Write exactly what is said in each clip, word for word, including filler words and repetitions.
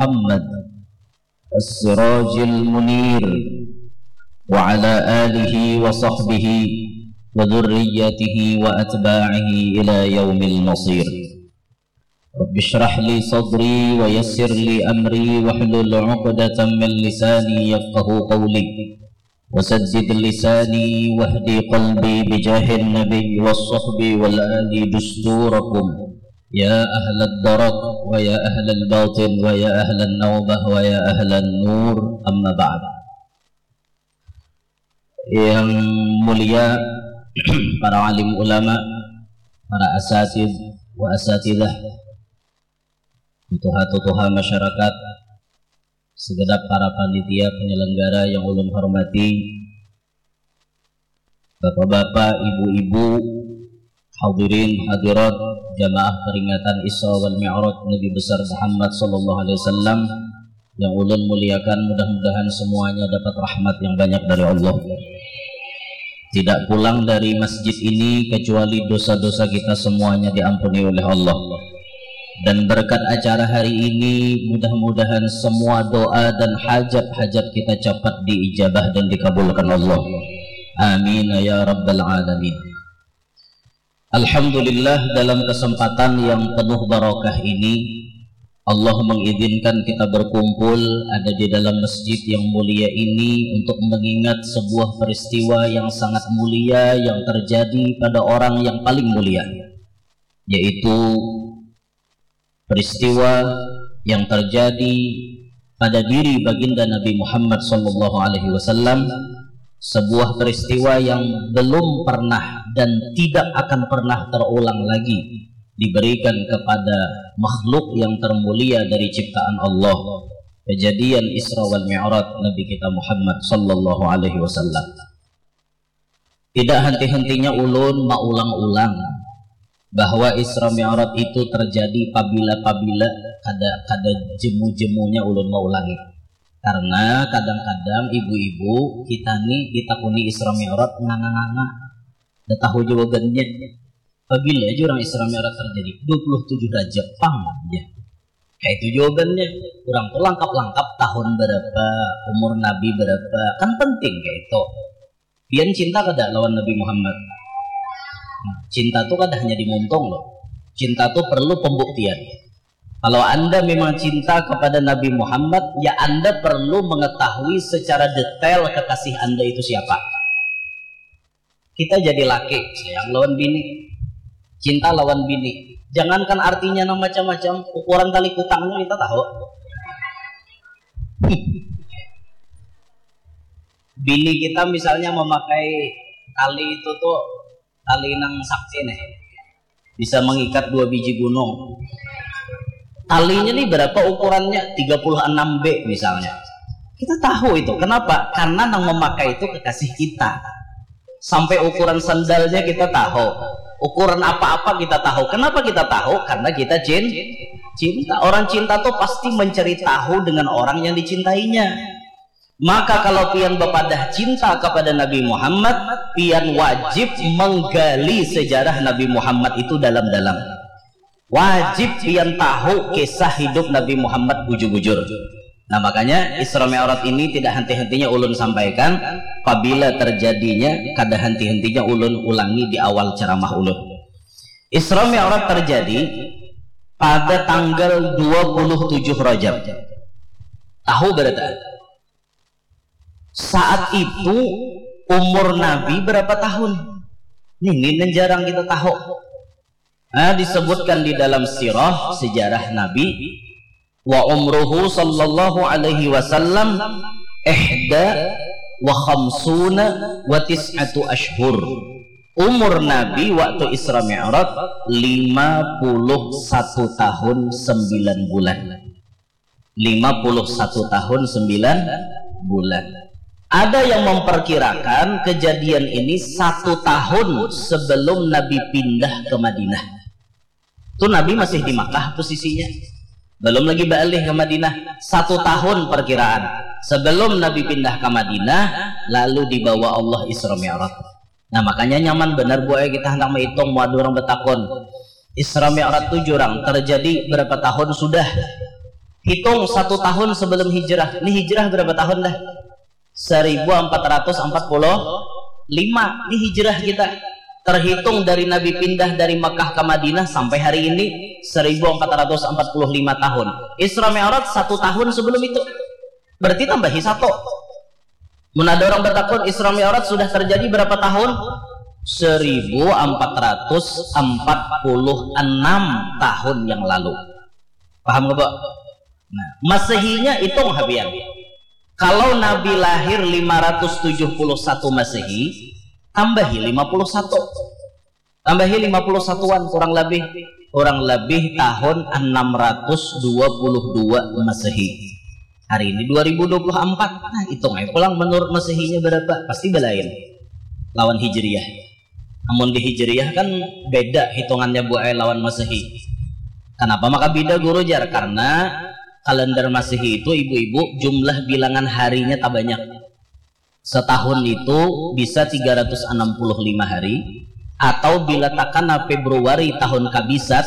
محمد السراج المنير وعلى آله وصحبه وذريته وأتباعه إلى يوم المصير. رب اشرح لي صدري ويسر لي أمري واحلل عقدة من لساني يفقه قولي وسدد لساني واهد قلبي بجاه النبي والصحب والآل دستوركم يا أهل الدرك ويا أهل الباطن ويا أهل النوبة ويا أهل النور، أما بعد. Yang mulia para alim ulama, para asatid wa asatidah, tutuha-tutuha masyarakat, segenap para panitia penyelenggara yang ulun hormati, bapak-bapak, ibu-ibu, hadirin hadirat, jamaah peringatan Isra wal Mi'raj Nabi besar Muhammad sallallahu alaihi wasallam yang ulun muliakan, mudah-mudahan semuanya dapat rahmat yang banyak dari Allah. Tidak pulang dari masjid ini kecuali dosa-dosa kita semuanya diampuni oleh Allah. Dan berkat acara hari ini, mudah-mudahan semua doa dan hajat-hajat kita cepat diijabah dan dikabulkan Allah. Amin ya rabbal alamin. Alhamdulillah, dalam kesempatan yang penuh barokah ini, Allah mengizinkan kita berkumpul ada di dalam masjid yang mulia ini untuk mengingat sebuah peristiwa yang sangat mulia yang terjadi pada orang yang paling mulia, yaitu peristiwa yang terjadi pada diri baginda Nabi Muhammad sallallahu alaihi wasallam, sebuah peristiwa yang belum pernah dan tidak akan pernah terulang lagi diberikan kepada makhluk yang termulia dari ciptaan Allah, kejadian Isra wal Mi'raj Nabi kita Muhammad sallallahu alaihi wasallam. Tidak henti-hentinya ulun maulang-ulang bahwa Isra Mi'raj itu terjadi pabila-pabila, kada, kada jemu-jemunya ulun maulangi. Karena kadang-kadang ibu-ibu kita ni ditakuni Isra Mi'raj nganga-nganga. Dah tahu jawabannya. Pabila aja orang Isra Mi'raj terjadi, dua puluh tujuh Rajab pang aja. Kayak itu jawabannya. Orang tuh langkap-langkap tahun berapa, umur Nabi berapa, kan penting kayak itu. Pian cinta kada lawan Nabi Muhammad? Nah, cinta tu kada hanya di muntung loh. Cinta tu perlu pembuktian. Kalau Anda memang cinta kepada Nabi Muhammad, ya Anda perlu mengetahui secara detail kekasih Anda itu siapa. Kita jadi laki, sayang lawan bini. Cinta lawan bini. Jangankan artinya nang macam-macam, ukuran tali kutangnya kita tahu. Bini kita misalnya memakai tali itu tuh, tali nang sakti nih, bisa mengikat dua biji gunung. Talinya nih berapa ukurannya? Tiga puluh enam B misalnya. Kita tahu itu. Kenapa? Karena nang memakai itu kekasih kita. Sampai ukuran sandalnya kita tahu. Ukuran apa-apa kita tahu. Kenapa kita tahu? Karena kita cin-, cinta. Orang cinta tuh pasti mencari tahu dengan orang yang dicintainya. Maka kalau pian bepadah cinta kepada Nabi Muhammad, pian wajib menggali sejarah Nabi Muhammad itu dalam-dalam. Wajib pian tahu kisah hidup Nabi Muhammad bujur-bujur. Nah, makanya Isra Mi'raj ini tidak henti-hentinya ulun sampaikan, pabila terjadinya kada henti-hentinya ulun ulangi di awal ceramah ulun. Isra Mi'raj terjadi pada tanggal dua puluh tujuh Rajab. Tahu berita? Saat itu umur Nabi berapa tahun? Ini yang jarang kita tahu. Nah, disebutkan di dalam sirah, sejarah Nabi, wa umruhu sallallahu alaihi wasallam ihda wa khamsuna wa tis'atu ashhur. Umur Nabi waktu Isra Mi'raj lima puluh satu tahun sembilan bulan. Lima puluh satu tahun sembilan bulan. Ada yang memperkirakan kejadian ini satu tahun sebelum Nabi pindah ke Madinah. Tuh Nabi masih di Makkah posisinya. Belum lagi baalih ke Madinah. Satu tahun perkiraan. Sebelum Nabi pindah ke Madinah, lalu dibawa Allah Isra Mi'raj. Nah, makanya nyaman benar, Bu, ai, kita hendak maitung, mau ada orang betakun. Isra Mi'raj tu jurang terjadi berapa tahun sudah? Hitung satu tahun sebelum hijrah. Ini hijrah berapa tahun dah? Seribu empat ratus empat puluh lima. Ini hijrah kita. Terhitung dari Nabi pindah dari Mekah ke Madinah sampai hari ini, seribu empat ratus empat puluh lima tahun. Isra Mi'raj satu tahun sebelum itu. Berarti tambahi satu. Mun ada orang bertakun, Isra Mi'raj sudah terjadi berapa tahun? Seribu empat ratus empat puluh enam tahun yang lalu. Paham nggak, Pak? Nah, Masehinya hitung habian. Kalau Nabi lahir lima ratus tujuh puluh satu Masehi, tambahi lima puluh satu. Tambahi lima puluh satuan, kurang lebih, kurang lebih tahun enam ratus dua puluh dua Masehi. Hari ini dua ribu dua puluh empat. Nah, hitung aja pulang menurut Masehinya berapa, pasti belain lawan Hijriah. Namun di Hijriah kan beda hitungannya, Bu ai, lawan Masehi. Kenapa maka beda, Guru, jar? Karena kalender Masehi itu, ibu-ibu, jumlah bilangan harinya tak banyak. Setahun itu bisa tiga ratus enam puluh lima hari, atau bila takana Februari tahun kabisat,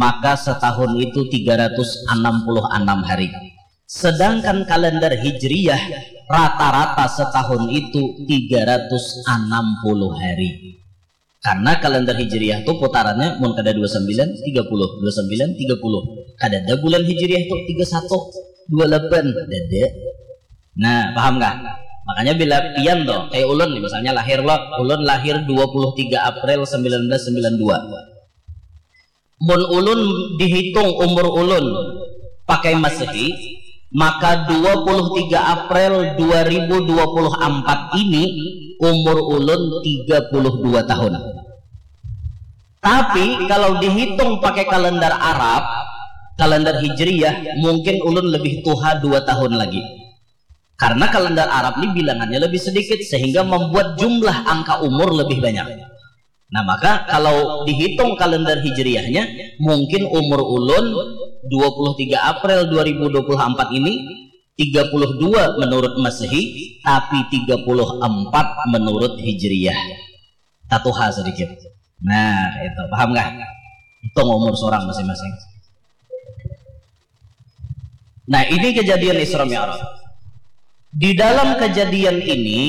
maka setahun itu tiga ratus enam puluh enam hari. Sedangkan kalender Hijriyah, rata-rata setahun itu tiga ratus enam puluh hari. Karena kalender Hijriyah tu putarannya mun kada dua sembilan, tiga puluh, dua sembilan, tiga puluh. Kadada bulan Hijriyah tu tiga satu, dua lapan, dada. Nah, paham kah? Makanya bila pian tuh, kayak ulun nih, misalnya lahir lo, ulun lahir dua puluh tiga April sembilan belas sembilan dua. Mun ulun dihitung umur ulun pakai Masehi, maka dua puluh tiga April dua ribu dua puluh empat ini umur ulun tiga puluh dua tahun. Tapi kalau dihitung pakai kalender Arab, kalender Hijriyah, mungkin ulun lebih tuha dua tahun lagi. Karena kalender Arab ini bilangannya lebih sedikit, sehingga membuat jumlah angka umur lebih banyak. Nah, maka kalau dihitung kalender Hijriyahnya, mungkin umur ulun dua puluh tiga April dua ribu dua puluh empat ini tiga puluh dua menurut Masehi, tapi tiga puluh empat menurut Hijriyah. Tatuha sedikit. Nah, itu. Paham kah? Hitung umur seorang masing-masing. Nah, ini kejadian Isra Mi'raj. Di dalam kejadian ini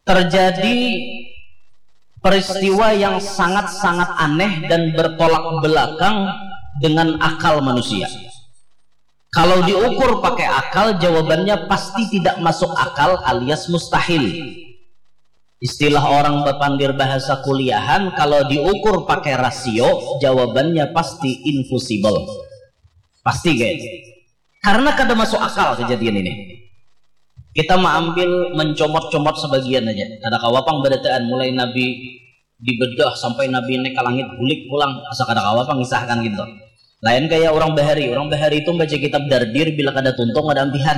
terjadi peristiwa yang sangat-sangat aneh dan bertolak belakang dengan akal manusia. Kalau diukur pakai akal, jawabannya pasti tidak masuk akal alias mustahil. Istilah orang bapandir bahasa kuliahan, kalau diukur pakai rasio, jawabannya pasti infusibel. Pasti, guys. Karena kada masuk akal kejadian ini. Kita maambil mencomot-comot sebagian aja. Kada kawa pang barataan mulai Nabi dibedah sampai Nabi naik ke langit, bulik pulang, asa kada kawa pang ngisahkan gitu. Lain kayak orang bahari. Orang bahari itu baca kitab Dardir, bila kada tuntung kada ampihan.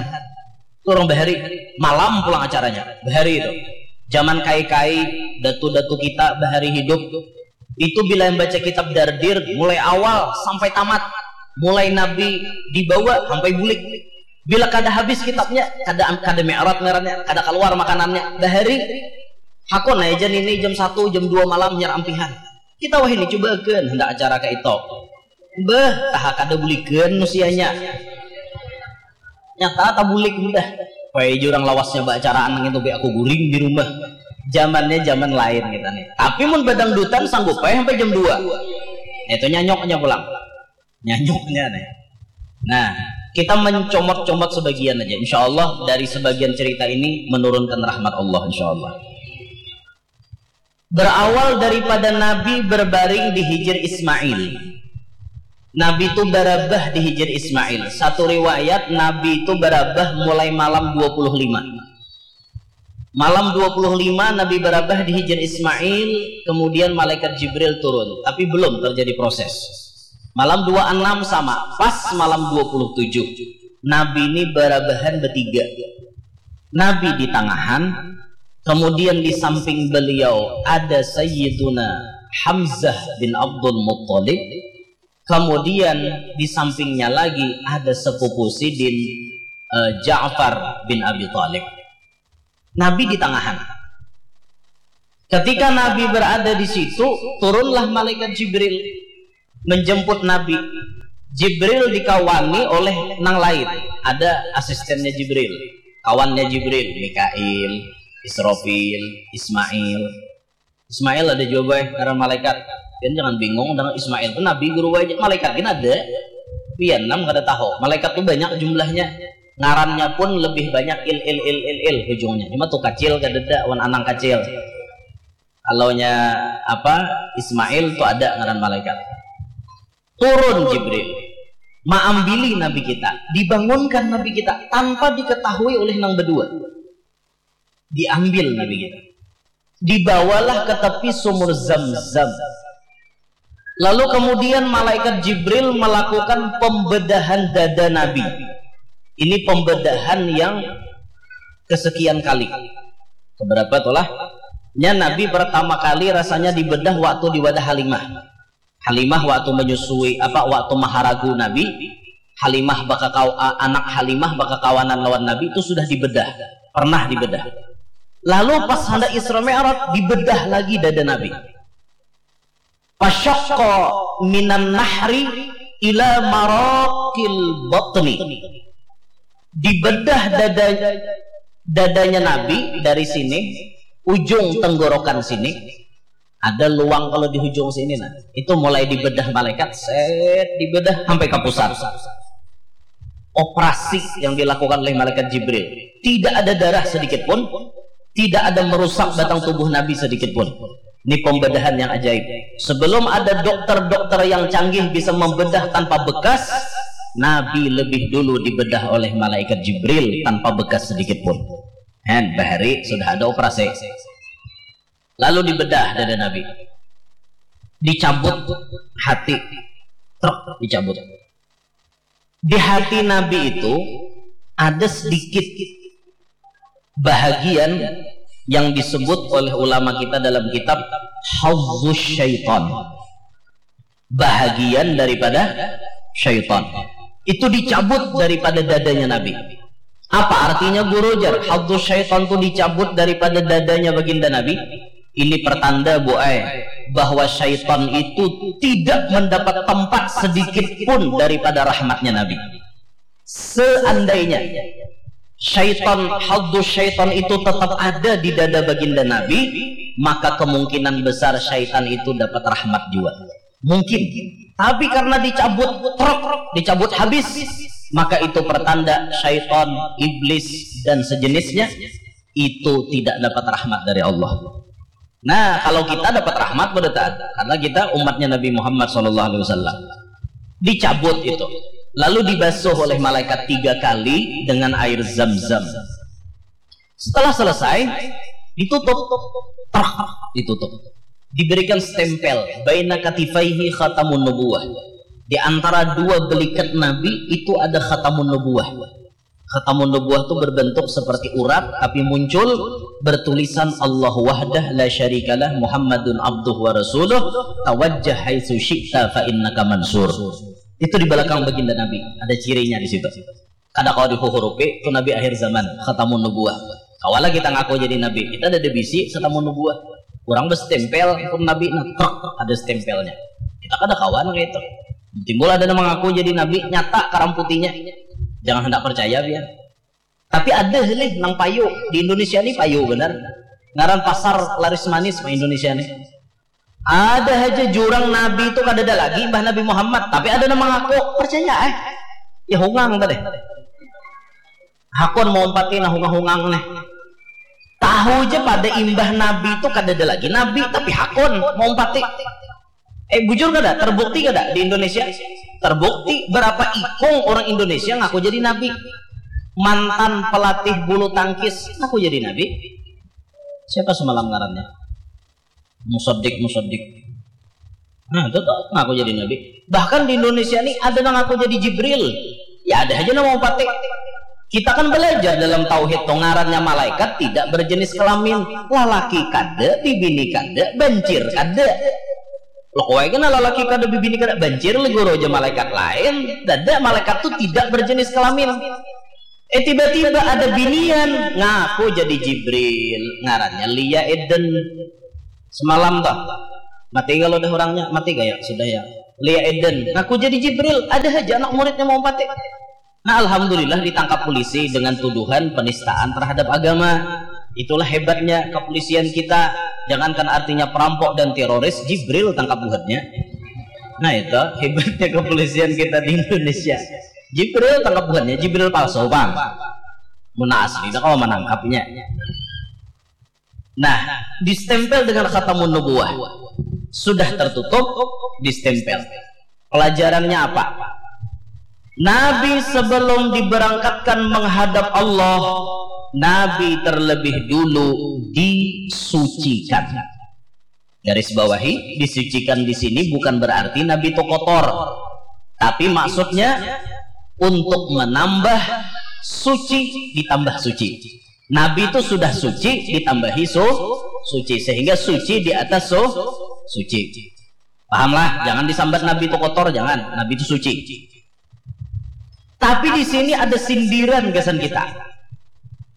Itu orang bahari. Malam pulang acaranya. Bahari itu. Zaman kai-kai, datu-datu kita bahari hidup, itu bila yang baca kitab Dardir mulai awal sampai tamat, mulai Nabi dibawa sampai bulik. Bila kada habis kitabnya, kada, kada mi'raj ngarannya, kada keluar makanannya. Bahari, hakun aja ini jam satu, jam dua malam nyar ampihan. Kita wahini cubakan hendak acara kayak itu. Bah, taha kada bulikan usianya. Nyata tabulik mudah. Wai jurang lawasnya baacaraan nang itu, be aku guring di rumah. Zamannya zaman lain kita nih. Tapi mun badangdutan sanggup aja sampai jam dua. Itu nyanyoknya pulang. Nyanyoknya nih. Nah, kita mencomot-comot sebagian aja. Insya Allah dari sebagian cerita ini menurunkan rahmat Allah, insya Allah. Berawal daripada Nabi berbaring di hijir Ismail. Nabi itu barabah di hijir Ismail. Satu riwayat, Nabi itu barabah mulai malam dua puluh lima. Malam dua puluh lima Nabi barabah di hijir Ismail, kemudian malaikat Jibril turun, tapi belum terjadi proses. Malam dua enam sama, pas malam dua puluh tujuh. Nabi ini barabahan bertiga. Nabi di tangahan, kemudian di samping beliau ada Sayyiduna Hamzah bin Abdul Muttalib, kemudian di sampingnya lagi ada sepupu sidin, eh, Ja'far bin Abi Thalib. Nabi di tangahan. Ketika Nabi berada di situ, turunlah malaikat Jibril menjemput Nabi. Jibril dikawani oleh nang lain. Ada asistennya Jibril, kawannya Jibril, Mikail, Israfil, Ismail. Ismail ada jua, boy, ngaran malaikat. Pian jangan bingung, dengan Ismail tu nabi guru aja, malaikat gin ada. Pian nam kada tahu, malaikat tu banyak jumlahnya. Ngarannya pun lebih banyak il, il, il, il, il ujungnya. Cuma tu kacil kadada wan anang kacil. Kalaunya apa, Ismail tu ada ngaran malaikat. Turun Jibril, maambili Nabi kita, dibangunkan Nabi kita tanpa diketahui oleh nang bedua. Diambil Nabi kita, dibawalah ke tepi sumur Zam-Zam. Lalu kemudian malaikat Jibril melakukan pembedahan dada Nabi. Ini pembedahan yang kesekian kali. Keberapa tuh lah? Nya Nabi pertama kali rasanya dibedah waktu di wadah Halimah. Halimah waktu menyusui, apa, waktu maharagu Nabi, Halimah bakakau-, a-, anak Halimah bakakawanan lawan Nabi itu sudah dibedah, pernah dibedah. Lalu pas hendak Isra Mi'raj, dibedah lagi dada Nabi. Fasyaqqa minan nahri ila maraqil batni. Dibedah dada, dadanya Nabi dari sini, ujung tenggorokan sini, ada luang kalau di ujung sini, nah. Itu mulai dibedah malaikat, set, dibedah sampai ke pusat. Operasi yang dilakukan oleh malaikat Jibril. Tidak ada darah sedikit pun, tidak ada merusak batang tubuh Nabi sedikit pun. Ini pembedahan yang ajaib. Sebelum ada dokter-dokter yang canggih bisa membedah tanpa bekas, Nabi lebih dulu dibedah oleh malaikat Jibril tanpa bekas sedikit pun. Hen, bahari sudah ada operasi. Lalu dibedah dada Nabi. Dicabut hati. Truk, dicabut. Di hati Nabi itu ada sedikit bahagian yang disebut oleh ulama kita dalam kitab hazzus syaitan. Bahagian daripada syaitan. Itu dicabut daripada dadanya Nabi. Apa artinya, guru, jar? Hazzus syaitan tu dicabut daripada dadanya baginda Nabi. Ini pertanda, bu ai, bahwa syaitan itu tidak mendapat tempat sedikit pun daripada rahmatnya Nabi. Seandainya syaitan, hazzus syaitan itu tetap ada di dada baginda Nabi, maka kemungkinan besar syaitan itu dapat rahmat juga. Mungkin. Tapi karena dicabut truk, dicabut habis, maka itu pertanda syaitan, iblis, dan sejenisnya itu tidak dapat rahmat dari Allah. Nah, kalau kita dapat rahmat, pada taat, karena kita umatnya Nabi Muhammad sallallahu alaihi wasallam. Dicabut itu, lalu dibasuh oleh malaikat tiga kali dengan air zam-zam. Setelah selesai, ditutup, truk, ditutup. Diberikan stempel, baina katifaihi khatamun nubuwah. Di antara dua belikat Nabi itu ada khatamun nubuwah. Khatamun nubuwah itu berbentuk seperti urat, tapi muncul bertulisan Allahu wahdah la syarikalah Muhammadun abduh wa rasuluh, tawajjah haitsu syi'ta fa innaka mansur. Itu di belakang baginda Nabi, ada cirinya di situ. Kada kawa dihuhurupi, itu Nabi akhir zaman, khatamun nubuwah. Kawalah kita ngaku jadi Nabi, kita ada bisi khatamun nubuwah. Urang bestempel pun Nabi, nah, truk, ada stempelnya. Kita kada kawa nang itu. Timbul ada nang mengaku jadi Nabi, nyata karamputinya. Jangan hendak percaya, biar. Tapi ada lih nang payu. Di Indonesia ni payu benar. Ngaran pasar laris manis mah Indonesia ni. Ada aja jurang Nabi itu kadada lagi, mbah Nabi Muhammad. Tapi ada nang mengaku, percaya eh. Ya hungang tadi. Hakun mau umpati nah hungang-hungang nih. Tahu aja pada imbah Nabi itu kadada lagi Nabi, tapi hakun mau umpati. Eh, bujur kada? Terbukti kada di Indonesia? Terbukti berapa ikung orang Indonesia ngaku jadi Nabi. Mantan pelatih bulu tangkis ngaku jadi Nabi. Siapa semalam ngarannya? Musaddiq, Musaddiq. Nah, itu tuh ngaku jadi Nabi. Bahkan di Indonesia nih ada nang ngaku jadi Jibril. Ya ada aja nama umpati. Kita kan belajar dalam tauhid tuh, ngarannya malaikat tidak berjenis kelamin. Lalaki kada, bibini kada, bancir kada. Lo kawai kena lalaki kada, bibini kada, bancir le guru aja malaikat lain. Dada, malaikat tuh tidak berjenis kelamin. Eh, tiba-tiba ada binian ngaku jadi Jibril, ngarannya Lia Eden. Semalam tuh, mati kalau udah orangnya, mati gaya sudah ya. Lia Eden, ngaku jadi Jibril, ada aja anak muridnya mau pakai. Nah, alhamdulillah ditangkap polisi dengan tuduhan penistaan terhadap agama. Itulah hebatnya kepolisian kita. Jangankan artinya perampok dan teroris, Jibril tangkap buhannya. Nah, itu hebatnya kepolisian kita di Indonesia. Jibril tangkap buhannya, Jibril palsu, Bang. Mun asli, dah kalau menangkapnya. Nah, distempel dengan khatamun nubuwah. Sudah tertutup, distempel. Pelajarannya apa? Nabi sebelum diberangkatkan menghadap Allah, Nabi terlebih dulu disucikan. Garis bawahi, disucikan di sini bukan berarti Nabi itu kotor. Tapi maksudnya untuk menambah suci ditambah suci. Nabi itu sudah suci ditambahi su, suci, sehingga suci di atas su, suci. Pahamlah, jangan disambat Nabi itu kotor, jangan. Nabi itu suci. Tapi di sini ada sindiran gasan kita.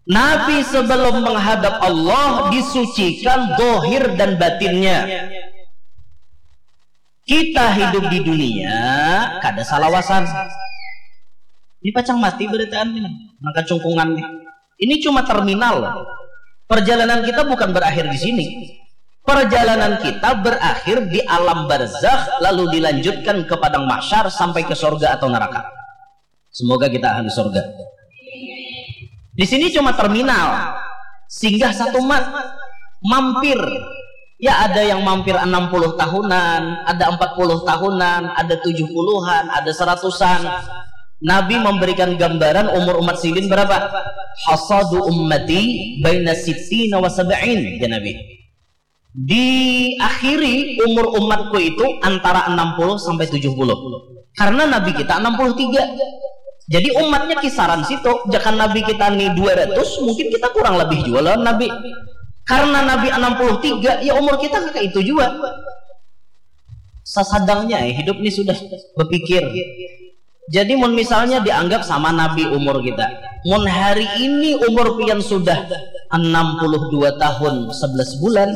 Nabi sebelum menghadap Allah disucikan dohir dan batinnya. Kita hidup di dunia kada salawasan. Ini pacang mati berataan ini, nangka cungkungan nih. Ini cuma terminal. Perjalanan kita bukan berakhir di sini. Perjalanan kita berakhir di alam barzakh, lalu dilanjutkan ke padang mahsyar sampai ke surga atau neraka. Semoga kita ahli surga. Di sini cuma terminal, singgah satu mat, mampir. Ya, ada yang mampir enam puluh tahunan, ada empat puluh tahunan, ada tujuh puluhan, ada seratusan. Nabi memberikan gambaran umur umat sidin berapa? Hasadu ummati baina sittina wa sab'in, ya Nabi. Diakhiri umur umatku itu antara enam puluh sampai tujuh puluh. Karena Nabi kita enam puluh tiga. Jadi umatnya kisaran situ. Jangan Nabi kita nih dua ratus, mungkin kita kurang lebih juga lawan Nabi. Karena Nabi enam puluh tiga, ya umur kita kayak itu juga. Sasadangnya, eh, hidup ini sudah berpikir. Jadi mun misalnya dianggap sama Nabi umur kita. Mun hari ini umur pian sudah enam puluh dua tahun sebelas bulan.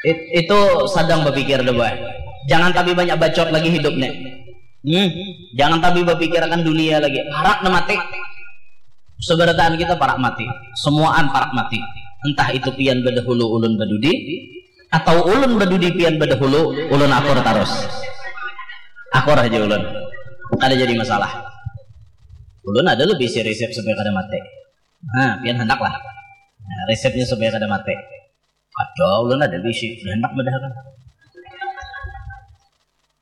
It- itu sadang berpikir deh, boy. Jangan tapi banyak bacot lagi hidup nih. Hmm, jangan tapi berpikir akan dunia lagi. Parak dah mati. Seberataan kita parak mati. Semuaan parak mati. Entah itu pian bedahulu ulun bedudi, atau ulun bedudi pian bedahulu, ulun akur tarus. Akur aja ulun. Kada jadi masalah. Ulun ada lebih isi resep supaya kada mati. Nah, pian hendak lah. Nah, resepnya supaya kada mati. Ada, ulun ada bisi, hendak badahakan.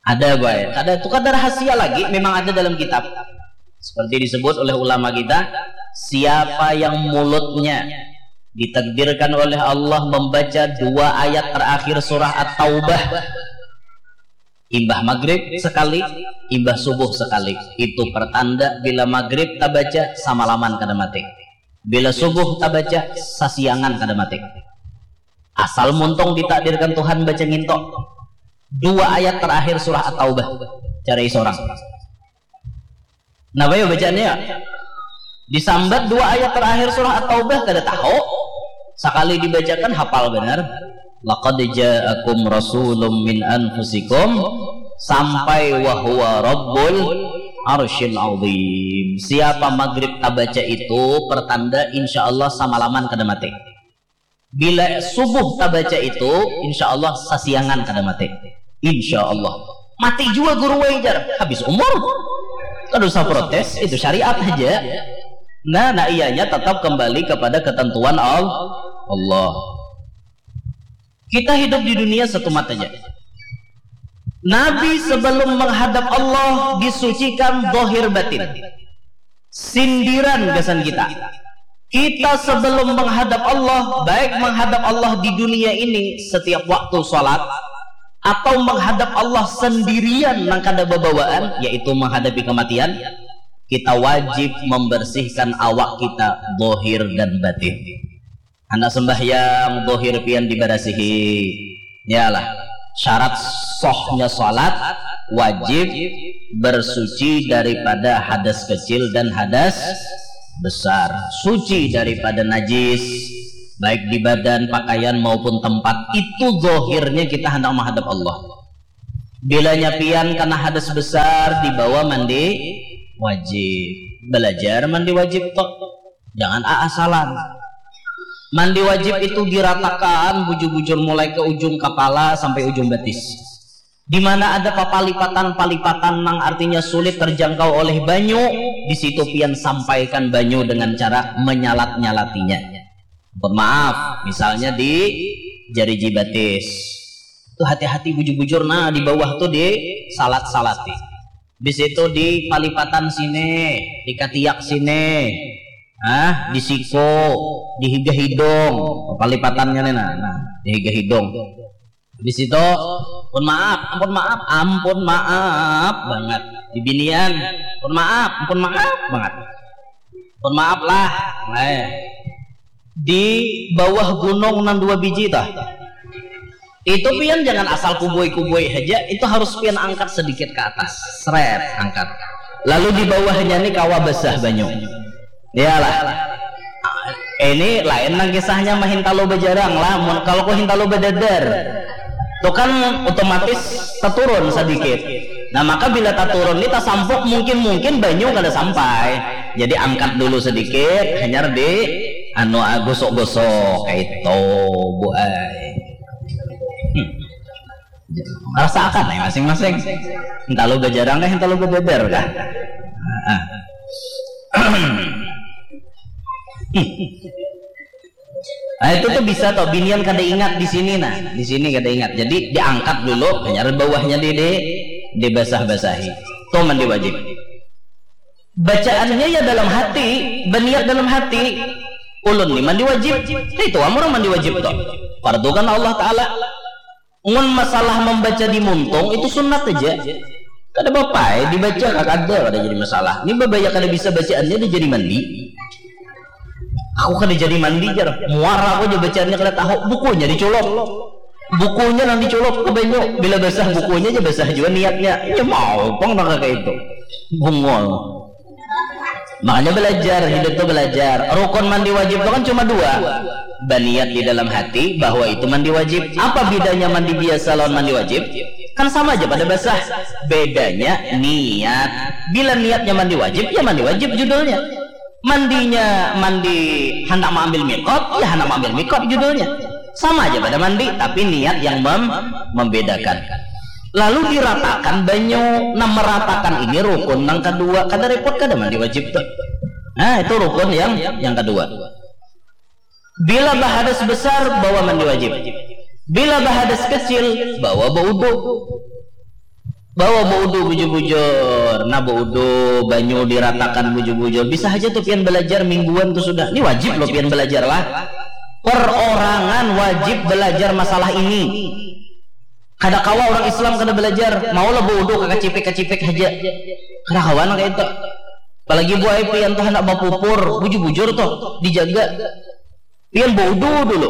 Ada, boy. Kada, itu kada rahasia lagi, memang ada dalam kitab. Seperti disebut oleh ulama kita, siapa yang mulutnya ditakdirkan oleh Allah membaca dua ayat terakhir surah At-Taubah, imbah maghrib sekali, imbah subuh sekali, itu pertanda bila maghrib tabaca samalaman kada mati. Bila subuh tabaca sasiangan kada mati. Asal muntung ditakdirkan Tuhan baca ngintok dua ayat terakhir surah At-Taubah, cari seorang. Napa ya bacaannya ya? Disambat dua ayat terakhir surah At-Taubah kada tahu. Sekali dibacakan hafal benar. Laqad ja'akum rasulun min anfusikum sampai wa huwa rabbul arsyil azim. Siapa maghrib tabaca itu pertanda insya Allah samalaman kada mati. Bila subuh tabaca itu, insya Allah sasiangan kada mati. Insya Allah. Mati juga guru wai jar. Habis umur. Kada usah protes, itu syariat aja. Nah, nah ianya tetap kembali kepada ketentuan Al- Allah. Kita hidup di dunia satu mata aja. Nabi sebelum menghadap Allah disucikan dohir batin. Sindiran gasan kita. Kita sebelum menghadap Allah, baik menghadap Allah di dunia ini setiap waktu sholat, atau menghadap Allah sendirian nang kada babawaan, yaitu menghadapi kematian, kita wajib membersihkan awak kita, dohir dan batin. Anak sembahyang, dohir pian dibarasihi. Yalah, syarat sohnya sholat wajib bersuci daripada hadas kecil dan hadas besar. Suci daripada najis, baik di badan, pakaian maupun tempat. Itu dohirnya kita hendak menghadap Allah. Bilanya pian kana hadas besar, dibawa mandi wajib. Belajar mandi wajib tok. Jangan aasalan. Mandi wajib itu diratakan bujur-bujur mulai ke ujung kepala sampai ujung betis. Di mana ada papalipatan-palipatan nang artinya sulit terjangkau oleh banyu, di situ pian sampaikan banyu dengan cara menyalat-nyalatinya. Mohon maaf, misalnya di jari jibatis. Itu hati-hati bujur-bujur, nah, di bawah tuh di salat-salati. Di situ di palipatan sini, di katiak sini. Ah, di siku, di higa hidung. Palipatannya nih, nah, nah, di higa hidung. Di situ, pun maaf, ampun maaf, ampun maaf banget. Di binian, pun maaf, ampun maaf banget. Pun maaf lah. Nah, di bawah gunung nang dua biji tah. Itu pian jangan asal kubui-kubui aja, itu harus pian angkat sedikit ke atas. Seret, angkat. Lalu di bawahnya nih kawa basah banyu. Iyalah. Ini lain nang kisahnya mahintalu bajarang lah. Mun kalau ku hintalu badadar, tu kan otomatis taturun sedikit. Nah, maka bila taturun ni tasampuk, mungkin-mungkin banyu kada sampai. Jadi angkat dulu sedikit, hanyar di anu, ah, gosok-gosok kaitu, Bu ai. Hmm. Rasakan ai masing-masing. Hintalu bajarang kah, hintalu badadar kah? Ah. Nah, itu tuh bisa toh, binian kada ingat di sini, nah, di sini kada ingat. Jadi diangkat dulu, hanyar bawahnya di, di, dibasah-basahi. Tuh mandi wajib. Bacaannya ya dalam hati, baniat dalam hati. Ulun ni mandi wajib. Nah, itu am urang mandi wajib tuh. Fardu kan Allah Ta'ala. Mun masalah mambaca di muntung, itu sunat aja. Kada apa-apa ai dibaca, kada, kada jadi masalah. Ini babaya kada bisa bacaannya, dia jadi mandi. Aku kada jadi mandi, jar. Muar aku aja bacaannya, kada tahu. Bukunya diculop. Bukunya nang diculop ke banyu. Bila basah bukunya aja basah juga niatnya. Ya mau pang nang kaya itu. Bungul. Makanya belajar, hidup tuh belajar. Rukun mandi wajib itu kan cuma dua. Baniat di dalam hati bahwa itu mandi wajib. Apa bedanya mandi biasa lawan mandi wajib? Kan sama aja pada basah. Bedanya niat. Bila niatnya mandi wajib, ya mandi wajib judulnya. Mandinya mandi handak maambil mikot, ya handak maambil mikot judulnya. Sama aja pada mandi, tapi niat yang mem-, membedakan. Lalu diratakan banyu. Nah, meratakan ini rukun nang kedua. Kada repot, kada mandi wajib tuh. Nah, itu rukun yang, yang kedua. Bila bahadas besar, bawa mandi wajib. Bila bahadas kecil, bawa baudu. Bawa baudu bujur-bujur. Nah, baudu, banyu diratakan bujur-bujur. Bisa aja tuh pian belajar mingguan tuh sudah. Ini wajib loh pian belajar lah. Perorangan wajib belajar masalah ini. Kada kawa orang Islam kada belajar, maulah baudu kakacipik-kacipik haja. Kada kawa nang kaya itu. Apalagi buai pian tuh handak bapupur, bujur-bujur tuh, dijaga. Pian baudu dulu,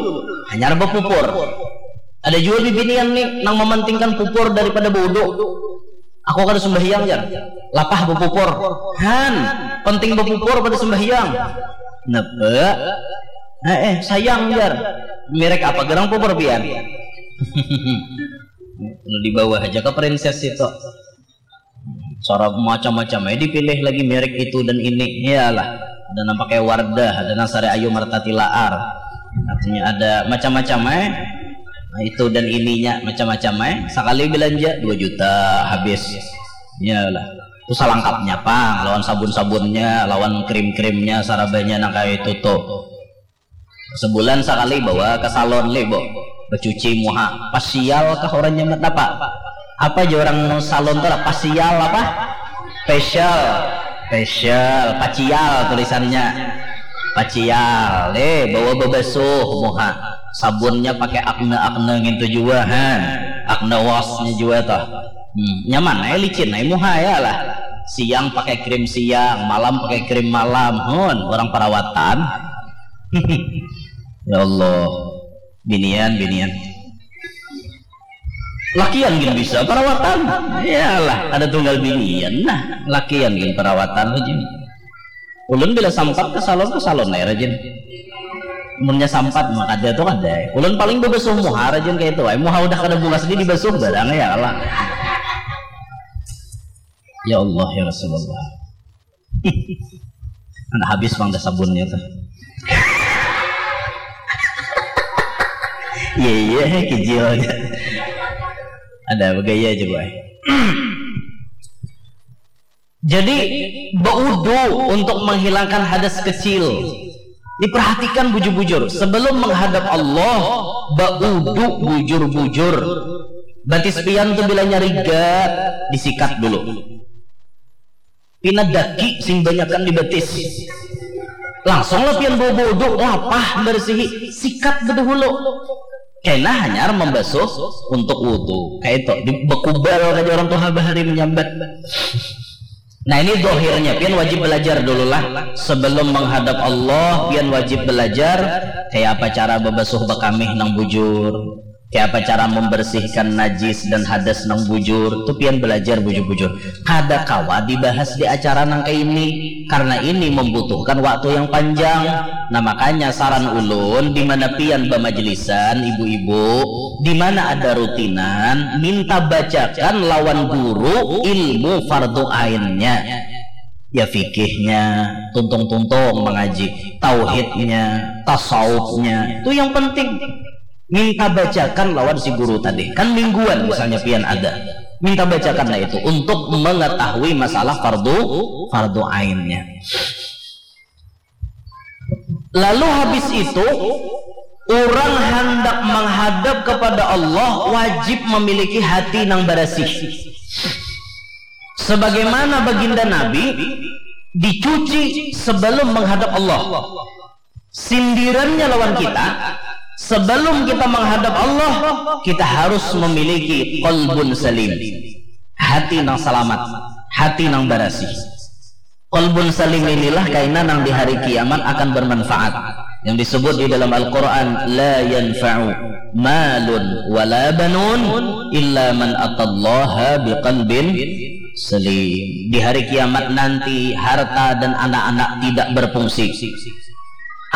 hanyar bapupur. Ada jua bibinian nih nang mementingkan pupur daripada baudu. Aku kada sembahyang, jar. Lapah bapupur. Han, penting bapupur pada sembahyang. Napa? Eh, eh, sayang, jar. Merek apa gerang pupur pian? Lu di bawah aja ke princess itu. Cara macam-macam aja dipilih lagi merek itu dan ini. Iyalah. Ada nang pakai Wardah, ada nang Sari Ayu Martatilaar. Artinya ada macam-macam eh. Nah, itu dan ininya macam-macam eh. Sekali belanja dua juta habis. Iyalah. Itu salangkapnya pang, lawan sabun-sabunnya, lawan krim-krimnya, sarabanya nang kayak itu tuh. Sebulan sekali bawa ke salon, le, bo. Becuci muha. Pasial kah orang nyamat apa? Apa aja orang salon tuh lah? Pasial apa? Facial. Facial, pacial tulisannya. Pacial, le, bawa bebasuh muha. Sabunnya pakai Acne-Acne gitu juga, han. Acne wash-nya juga toh. Hmm, nyaman, eh, licin, eh, muha ya lah. Siang pakai krim siang, malam pakai krim malam. Hun, orang perawatan. Ya Allah. Binian, binian. Lakian gin bisa perawatan. Iyalah, ada tunggal binian. Nah, lakian gin perawatan aja. Ulun bila sampat ke salon, ke salon aja rajin. Munnya sampat maka dia tuh ada. Ulun paling bebasuh muha rajin kayak itu. Ay, muha udah kada bungas di dibasuh barang ya lah. Ya Allah, ya Rasulullah. Mana habis pang dah sabunnya tuh. Iya, iya, kijil aja. Ada bagaya aja, boy. Jadi, baudu untuk menghilangkan hadas kecil. Diperhatikan bujur-bujur. Sebelum menghadap Allah, baudu bujur-bujur. Batis pian tuh bila nyariga, disikat dulu. Pina daki sing banyakan di batis. Langsung lah pian baudu, lapah, bersihi, sikat bedahulu. Kena hanyar membasuh untuk wudu. Kayak itu, di, bekubal aja orang tua bahari menyambat. Nah, ini dohirnya, pian wajib belajar dulu lah. Sebelum menghadap Allah, pian wajib belajar kayak apa cara bebasuh bekamih nang bujur. Kayak apa cara membersihkan najis dan hadas nang bujur. Tuh pian belajar bujur-bujur. Kada kawa dibahas di acara nang kayak ini. Karena ini membutuhkan waktu yang panjang. Nah, makanya saran ulun, di mana pian bamajelisan, ibu-ibu, di mana ada rutinan, minta bacakan lawan guru ilmu fardu ainnya. Ya fikihnya, tuntung-tuntung mengaji, tauhidnya, tasawufnya, itu yang penting. Minta bacakan lawan si guru tadi. Kan mingguan misalnya pian ada. Minta bacakanlah itu untuk mengetahui masalah fardu, fardu ainnya. Lalu habis itu, orang hendak menghadap kepada Allah wajib memiliki hati nang barasih. Sebagaimana baginda Nabi dicuci sebelum menghadap Allah. Sindirannya lawan kita, sebelum kita menghadap Allah, kita harus memiliki qalbun salim. Hati nang selamat, hati nang barasih. Qalbun salim inilah kaina nang di hari kiamat akan bermanfaat. Yang disebut di dalam Al-Quran, la yanfa'u malun wala banun illa man atallaha biqalbin salim. Di hari kiamat nanti, harta dan anak-anak tidak berfungsi.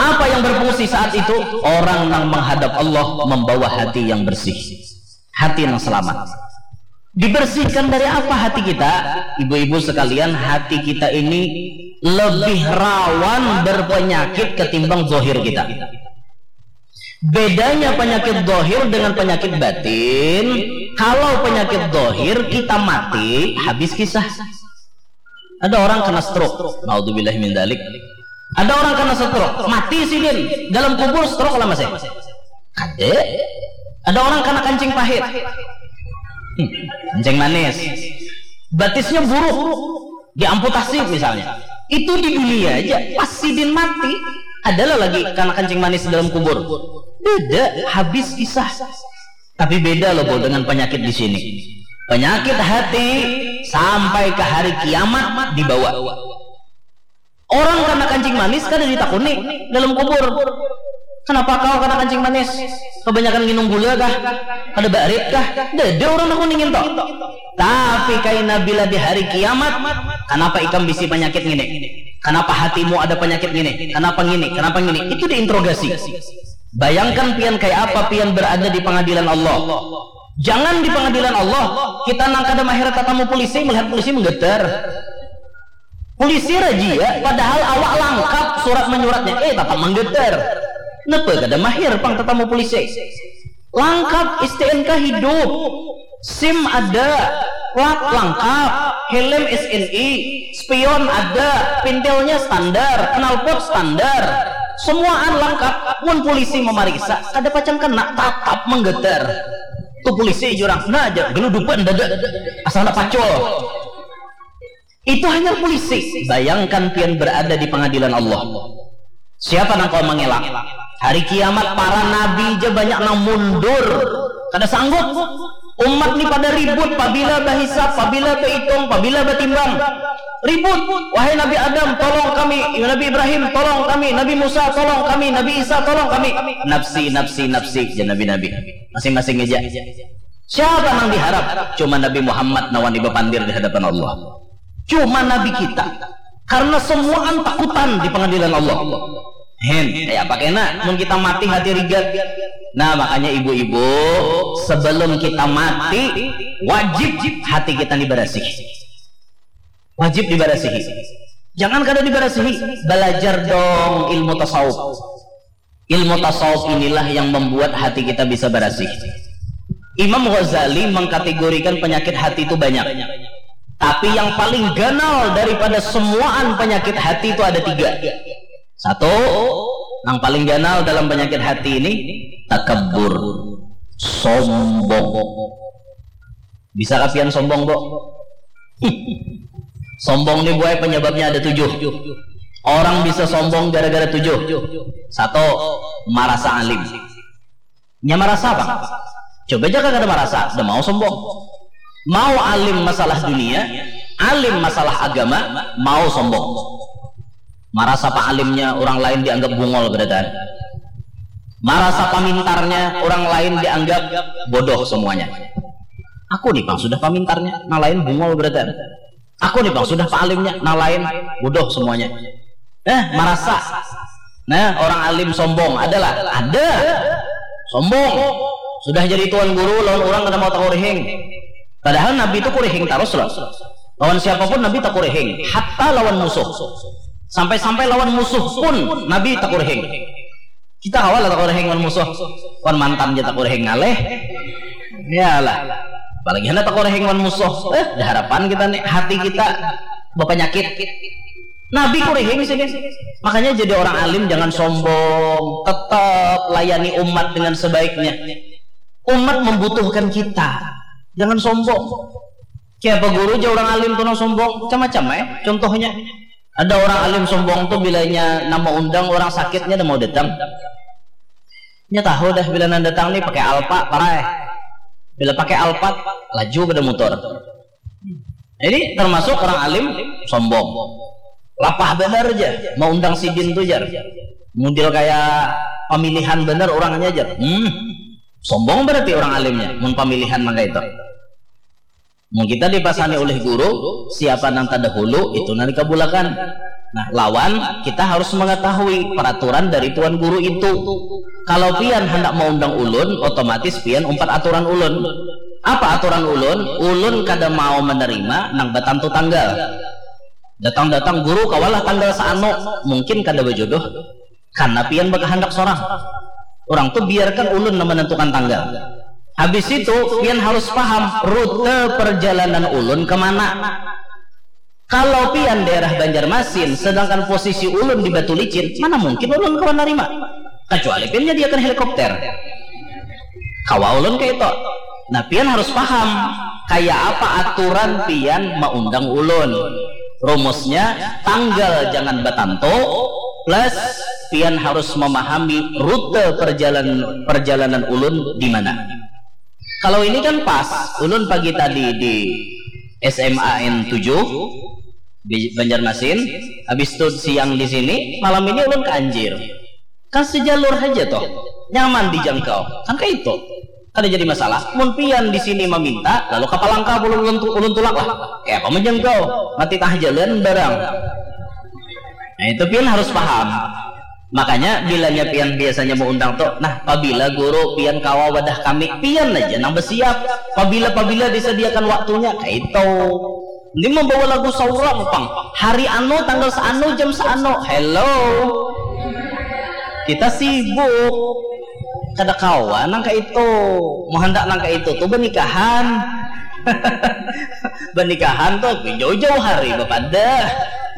Apa yang berfungsi saat itu? Orang yang menghadap Allah membawa hati yang bersih, hati yang selamat. Dibersihkan dari apa hati kita? Ibu-ibu sekalian, hati kita ini lebih rawan berpenyakit ketimbang zahir kita. Bedanya penyakit zahir dengan penyakit batin, kalau penyakit zahir kita mati, habis kisah. Ada orang kena stroke, naudzubillah min dzalik. Ada orang kena stroke, mati sidin. Dalam kubur stroke lah masih. Kada. Ada orang kena kancing pahit. Hmm, kancing manis. Batisnya buruk, diamputasi misalnya. Itu di dunia aja, pas sidin mati, adalah lagi kena kancing manis dalam kubur. Beda, habis kisah. Tapi beda loh, Bol, dengan penyakit di sini. Penyakit hati sampai ke hari kiamat dibawa. Orang kena kancing manis kada ditakuni dalam kubur. Kenapa kau kena kancing manis? Kebanyakan nginum gula kah? Kada barit kah? Dada orang takuni nginto. Tapi kaina bila di hari kiamat, kenapa ikam bisi penyakit ngini? Kenapa hatimu ada penyakit ngini? Kenapa ngini? Kenapa ngini? Itu diinterogasi. Bayangkan pian kayak apa pian berada di pengadilan Allah. Jangan di pengadilan Allah, kita nang kada mahir tatamu polisi, melihat polisi menggetar. Polisi razia, padahal awak langkap surat menyuratnya, eh, tatap menggetar. Napa kada mahir pang tatamu polisi? Langkap, S T N K hidup, SIM ada, plat langkap, helm S N I, spion ada, pintelnya standar, knalpot standar, semuaan langkap. Mun polisi memeriksa, kada pacang kena, tatap menggetar. Tuh polisi jurang, nah aja geludupan dada, asal nak pacul. Itu hanya polisi. Bayangkan pian berada di pengadilan Allah. Siapa nang kau mengelak? Hari kiamat para nabi aja banyak nang mundur. Kada sanggup. Umat ni pada ribut, pabila bahisap, pabila bahitung, pabila batimbang. Ribut. Wahai Nabi Adam, tolong kami. Nabi Ibrahim, tolong kami. Nabi Musa, tolong kami. Nabi Isa, tolong kami. Nafsi, nafsi, nafsi, jar nabi-nabi. Masing-masing aja. Siapa nang diharap? Cuma Nabi Muhammad nang wani bapandir di hadapan Allah. Cuma Nabi kita. Karena semuaan takutan di pengadilan Allah. Hen, kayak apa kena? Mun kita mati hati rigat. Nah, makanya ibu-ibu, sebelum kita mati, wajib hati kita ni barasih. Wajib dibarasihi. Jangan kada dibarasihi, belajar dong ilmu tasawuf. Ilmu tasawuf inilah yang membuat hati kita bisa barasih. Imam Ghazali mengkategorikan penyakit hati itu banyak. Tapi yang paling ganal daripada semuaan penyakit hati itu ada tiga. Satu, yang paling ganal dalam penyakit hati ini, takabur, sombong. Bisa kapian sombong, Bo? Sombong nih, buai, penyebabnya ada tujuh. Orang bisa sombong gara-gara tujuh. Satu, marasa alim. Nya marasa apa? Coba aja kada marasa, udah mau sombong. Mau alim masalah dunia, alim masalah agama, mau sombong. Marasa pak alimnya orang lain dianggap bungol, berarti. Marasa pamintarnya orang lain dianggap bodoh semuanya. Aku nih bang sudah pamintarnya, nang lain bungol, berarti. Aku nih bang sudah pak alimnya, nang lain bodoh semuanya. Eh, marasa. Nah, orang alim sombong adalah ada. Sombong. Sudah jadi tuan guru, lawan orang kada mau takurihing. Padahal Nabi itu kurihing terus loh. Lawan siapapun Nabi takurihing, hatta lawan musuh. Sampai-sampai lawan musuh pun Nabi takurihing. Kita kawa lah takurihing wan musuh. Wan mantan aja takurihing ngalih. Iyalah. Apalagi handak takurihing wan musuh. Eh, ada harapan kita nih, hati kita berpenyakit. Nabi kurihing sini. Makanya jadi orang alim jangan sombong, tetap layani umat dengan sebaiknya. Umat membutuhkan kita. Jangan sombong. Kayak apa guru aja orang alim tuh nang sombong, macam-macam eh. Contohnya, ada orang alim sombong tuh bilanya nama undang orang sakitnya udah mau datang. Nya tahu dah bila nang datang nih pakai Alpa, parai. Bila pakai Alpa, laju pada motor. Ini termasuk orang alim sombong. Lapah benar aja, mau undang sidin tuh jar. Model kayak pemilihan benar orangnya jar. Hmm, sombong berarti orang alimnya, mun pemilihan mangka itu. Mun kita dipasani oleh guru, siapa nang terdahulu, itu nang dikabulakan. Nah, lawan kita harus mengetahui peraturan dari tuan guru itu. Kalau pian hendak mengundang ulun, otomatis pian umpat aturan ulun. Apa aturan ulun? Ulun kada mau menerima nang batantu tanggal. Datang-datang guru kawalah tanggal saano, mungkin kada berjodoh. Karena pian berkehendak seorang. Orang tuh biarkan ulun menentukan tanggal. Habis itu, pian harus paham rute perjalanan ulun kemana. Kalau pian daerah Banjarmasin, sedangkan posisi ulun di Batu Licin, mana mungkin ulun kawa nerima? Kecuali pian nyediakan helikopter. Kawa ulun kayak itu. Nah, pian harus paham kayak apa aturan pian mengundang ulun. Rumusnya, tanggal jangan batantu, plus pian harus memahami rute perjalanan perjalanan ulun di mana. Kalau ini kan pas, ulun pagi tadi di S M A N tujuh di Banjarmasin, habis itu siang di sini, malam ini ulun ke Anjir. Kan sejalur aja toh, nyaman dijangkau, kan kayak itu. Kada jadi masalah. Mun pian di sini meminta, lalu kapalangka ulun, ulun, ulun tulak lah. Kayak apa menjangkau? Mati tah jalan barang. Nah, itu pian harus paham. Makanya bilanya pian biasanya mengundang tuh, nah, pabila guru pian kawa wadah kami, pian aja nang bersiap. Pabila-pabila disediakan waktunya, kayak itu. Ini membawa lagu saurang pang. Hari anu, tanggal seanu, jam seanu. Hello. Kita sibuk. Kada kawa nang kayak itu. Mau hendak nang kayak itu tuh bernikahan. Bernikahan tuh jauh-jauh hari bapadah.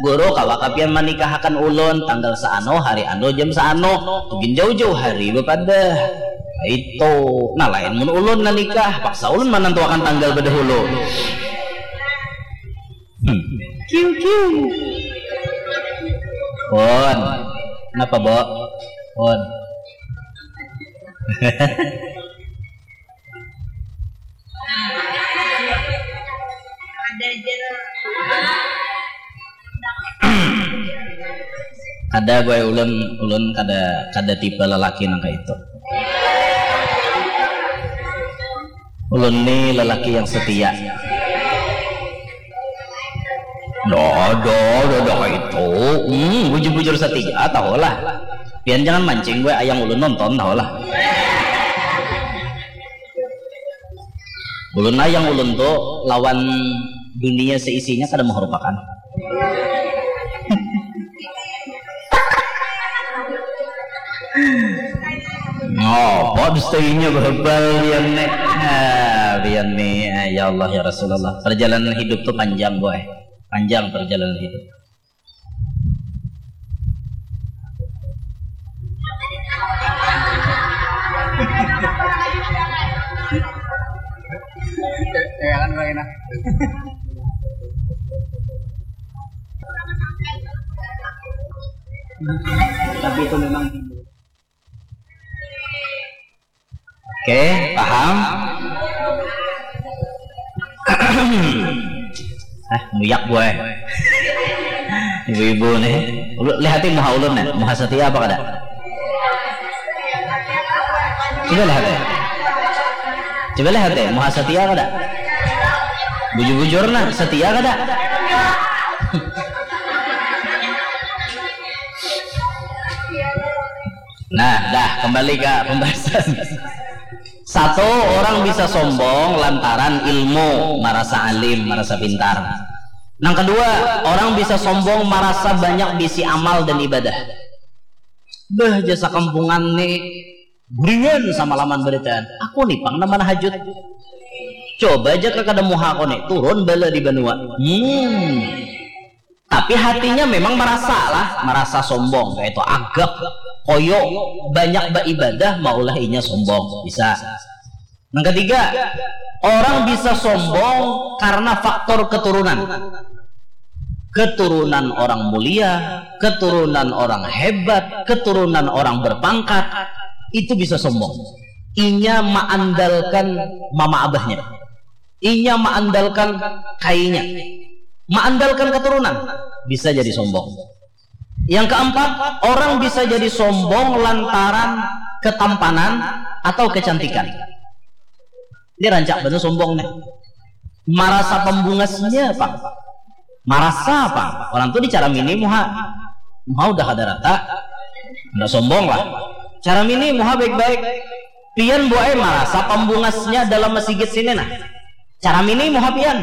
Guru, kawa kapian manikahakan ulun tanggal seano, hari anu, jam seano. Tuh gin jauh-jauh hari bapadah. Itu. Nah, lain mun ulun nanikah, paksa ulun manantuakan tanggal bedahulu. Hmm. Kiu kiu. Pun. Kenapa, Bo? Pun. Ada aja lah. Kada, gue, ulun, ulun kada, kada tipe lelaki nang kayak itu. Ulun ni lelaki yang setia. Dodo, dodo itu. Hmm, bujur-bujur setia, tahu lah. Pian jangan mancing gue, ayang ulun nonton, tahu lah. Ulun lah yang ulun tuh lawan Dunia seisinya kada mengharupakan. Oh, apa dustainya berbal pian nih. Ah, pian nih, ah, ya Allah, ya Rasulullah. Perjalanan hidup tuh panjang, boy. Panjang perjalanan hidup. Jangan, Bang, enak. Tapi itu memang Oke, paham? Ah, muyak gue. Ibu-ibu nih. Lu lihati muha ulun nih, muha setia apa kada? Coba lihati. Coba lihati, muha setia kada? Bujur-bujur nah, setia kada? Nah, dah, kembali ke pembahasan. Satu, orang bisa sombong lantaran ilmu, marasa alim, marasa pintar. Nang kedua, orang bisa sombong marasa banyak bisi amal dan ibadah. Beuh, jar sakampungan nih, guringan samalaman barataan. Aku nih pang nang manahajud. Coba aja ka kada muha aku nih, turun bala di banua. Hmm. Tapi hatinya memang marasa lah, marasa sombong, kaya itu agak koyo banyak baibadah, maulah inya sombong, bisa. Nang ketiga, orang bisa sombong karena faktor keturunan. Keturunan orang mulia, keturunan orang hebat, keturunan orang berpangkat, itu bisa sombong. Inya maandalkan mama abahnya. Inya maandalkan kainya. Maandalkan keturunan, bisa jadi sombong. Yang keempat, orang bisa jadi sombong lantaran ketampanan atau kecantikan. Ini rancak banget sombong nih. Marasa pembungasnya apa? Marasa apa? Orang tuh dicaramini muha. Muha udah kada rata. Nggak sombong lah. Caramini muha baik-baik. Pian buai marasa pembungasnya dalam masigit sini nah. Caramini muha pian.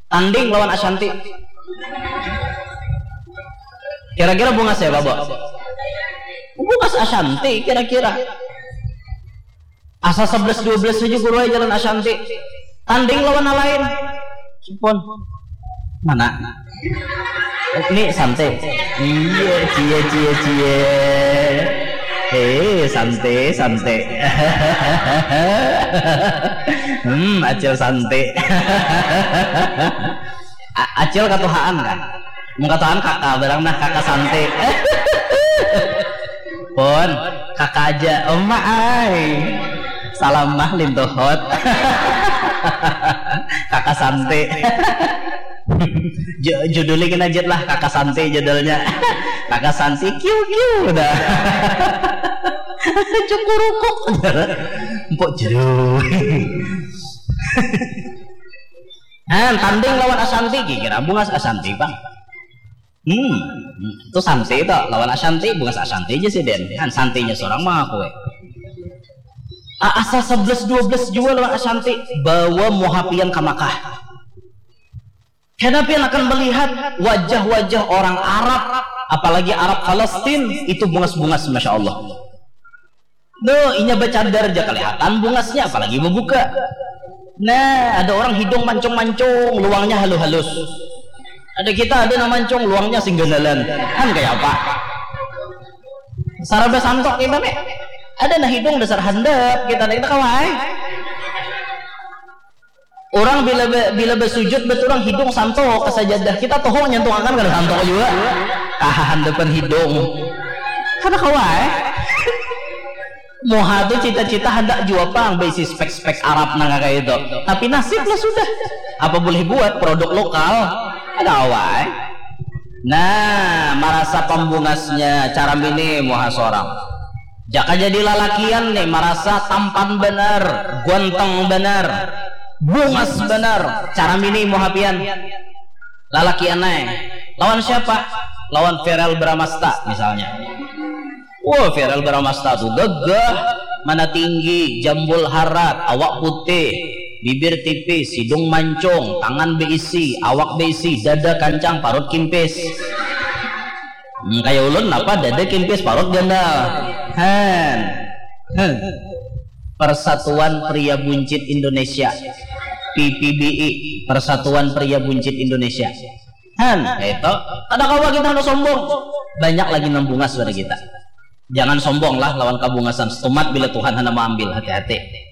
Tanding lawan Ashanti. Kira-kira bungas ya, Babo? Bungas Ashanti kira-kira. Asa sebelas dua belas saja guru aja jalan Ashanti. Tanding lawan nang lain. Supun. Mana? Ini santai. Iya, cie, cie, cie. Eh, santai, santai. Hmm, acil santai. A- acil katuhaan kan? Mun katuhaan kakak barang nah, kakak santai. Pun, kakak aja. Oma ai. Salam mah lintuhut. Kakak santai. Ju- judulnya kena jet lah, kakak santai judulnya. Kakak santai kiu kiu dah. Cukurukuk. Empuk jeruk. Nah, tanding lawan Ashanti, kira bungas Ashanti bang. Hmm, itu santai itu lawan Ashanti, bungas Ashanti aja sih den. Kan santinya seorang mah aku. Eh. A- Asa sebelas dua belas jua lawan Ashanti, bawa muha pian ka Makkah. Karena pian akan melihat wajah-wajah orang Arab, apalagi Arab Palestin, itu bungas-bungas, masya Allah. Duh, inya bacadar aja kelihatan bungasnya, apalagi membuka. Nah, ada orang hidung mancung-mancung, luangnya halus-halus. Ada kita ada nang mancung, luangnya singganalan. Kan kayak apa? Saraba santok kita nih. Ada nah hidung dasar handap kita nih, kita kawai. Orang bila be- bila bersujud betul orang hidung santok ke sajadah, kita tohong nyentuh akan kada santok juga. Kahahan depan hidung. Kada kawai. Muha tu cita-cita handak jua pang baisi spek-spek Arab nang kayak itu. Tapi nasib lah sudah. Apa boleh buat, produk lokal. Ada awai. Nah, marasa pembungasnya cara mini muha seorang. Jaka jadi lalakian nih marasa tampan benar, guanteng benar, bungas benar, cara mini muha pian. Lalakian nih. Lawan siapa? Lawan Feral Bramasta misalnya. Wah, Feral Bramasta tuh gagah, mana tinggi, jambul harat, awak putih, Bibir tipis, hidung mancung, tangan beisi, awak beisi, dada kancang, parut kimpis. Hmm, kaya ulun napa dada kimpis, parut gandal. Han. Huh. Persatuan Pria Buncit Indonesia, P P B I, Persatuan Pria Buncit Indonesia. Han, itu. Kada kawa kita handak sombong. Banyak lagi nang bungas pada kita. Jangan sombong lah lawan kabungasan. Setumat bila Tuhan handak maambil, hati-hati.